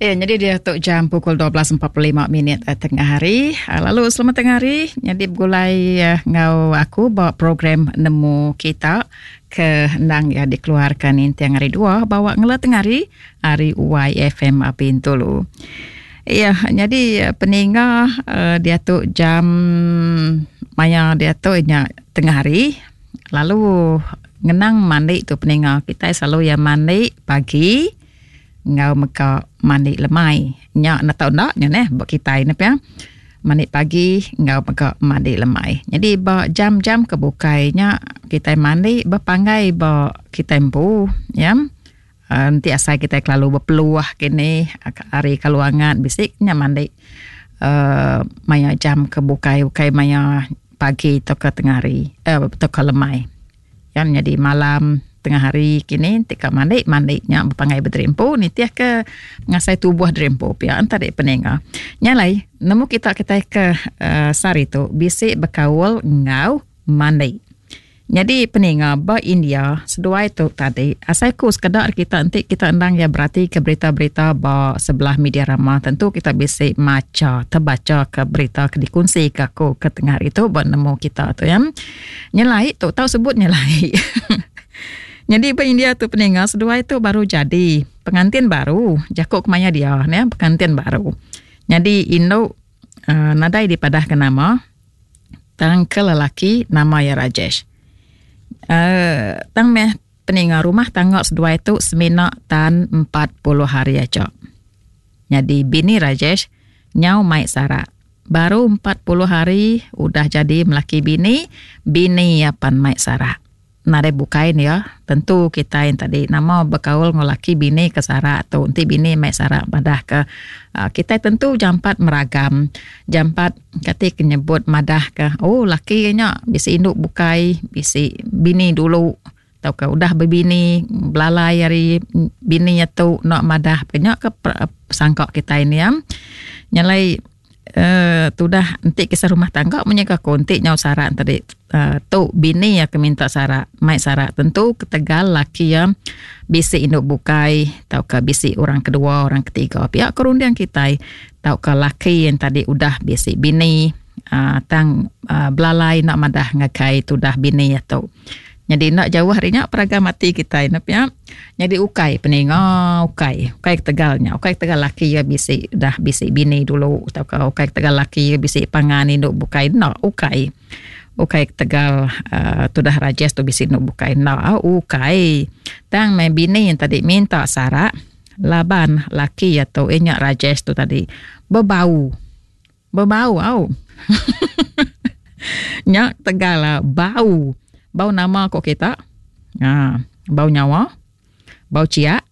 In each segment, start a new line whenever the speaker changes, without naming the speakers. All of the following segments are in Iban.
Ya, jadi dia tu jam pukul 12.45 minit eh, tengah hari. Ah, lalu selamat tengah hari. Jadi begulai eh, ngau aku ba program Nemu Kita ke endang ya dikeluarkan intiang hari dua bawa ngela tengah hari hari YFM Bintulu. Ya, jadi eh, peninga dia tu jam maya dia tu nya tengah hari. Lalu ngenang mandi tu peninga kita selalu ya mandi pagi enggau mega mandi lemai. Nya enda tau enda nya neh ba kitai ne pia. Mandi pagi enggau mega mandi lemai. Nyadi ba jam-jam ke bukai nya kitai mandi bepanggai ba kitai empu ya. Uhh enti asai kitai kelalu bepeluh kini ari kalu angat bisi nya mandi uhh maya jam ke bukai ukai maya pagi tauka tengah hari uhh tauka lemai. Kan nyadi malam tengah hari kini ti ka mandi mandi nya bepanggai bediri empu nitih ke ngasai tubuh diri empu pia enta dek peninga. Nya alai nemu kita kitai ke uhh sehari tu bisi bekaul enggau mandi. Nyadi peninga ba India seduai tu tadi asai ku sekeda ari kita enti kita endang iya berati ke berita-berita ba sebelah media rama tentu kita bisi macha tebacha ke berita ke dikunsi ke aku ke tengah hari tu ba nemu kita tu ya. Nyelai tu tau sebut nyelai. Nyadi ba India tu peninga seduai tu baru jadi pengantin baru jaku kemaya dia ne pengantin baru. Nyadi indu uhh nadai dipadah ke nama tang ke lelaki nama iya Rajesh. Uhh tang meh peninga rumah tangga seduai tu semina tan 40 hari aja. Nyadi bini Rajesh nyau mai sarak. Baru 40 hari udah jadi melaki bini, bini iya pan mai sarak. Nadai bukai ne iya, tentu kitai tadi nama bekaul enggau laki bini ke sarak tu enti bini mai sarak madah ke uhh kitai tentu jampat meragam, jampat kati ke nyebut madah ke oh laki iya nya bisi indu bukai, bisi bini dulu tauka udah bebini belalai ari bini iya tu enda madah ke nya ke sangka kitai ne iya. Nya alai uhh tudah enti kisah rumah tangga mung nyaga ku enti nyau sarak tadi uhh tu bini iya ke minta sarak mai sarak tentu ketegal laki iya bisi indu bukai tauka bisi orang kedua orang ketiga pia ku runding kitai tauka laki iya tadi udah bisi bini uhh tang uhh belalai enda madah ngagai tudah bini iya tu. Nyadi enda jauh ari nya peragam ati kitai ne pia. Nyadi ukai peninga ukai. Ukai ketegal nya. Ukai ketegal laki iya bisi dah bisi bini dulu tauka ukai ketegal laki iya bisi pangan indu bukai enda ukai. Ukai ketegal uhh tudah Rajesh tu bisi indu bukai enda ukai. Tang meh bini tadi minta sarak laban laki iya tu iya nya Rajesh tu tadi bebau. Bebau au. Nya tegal ah, bau. Bau nama ko kita? Ha, bau nyawa. Bau ciak.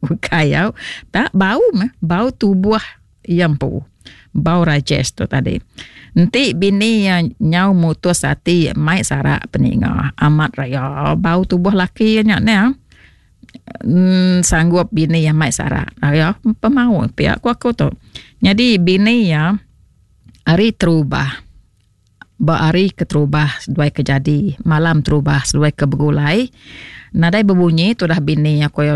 Ukai au. Tak bau meh, bau tubuh iya empu. Bau Rajesh tu tadi. Enti bini iya nyau mutus ati mai sarak peninga amat raya bau tubuh laki iya nya neh. Emm sanggup bini iya mai sarak. Iya pemau pia ku aku tu. Nyadi bini iya hari terubah ba hari keterubah seduai ke jadi malam terubah seduai ke begulai nadai bebunyi tudah bini iya ku iya.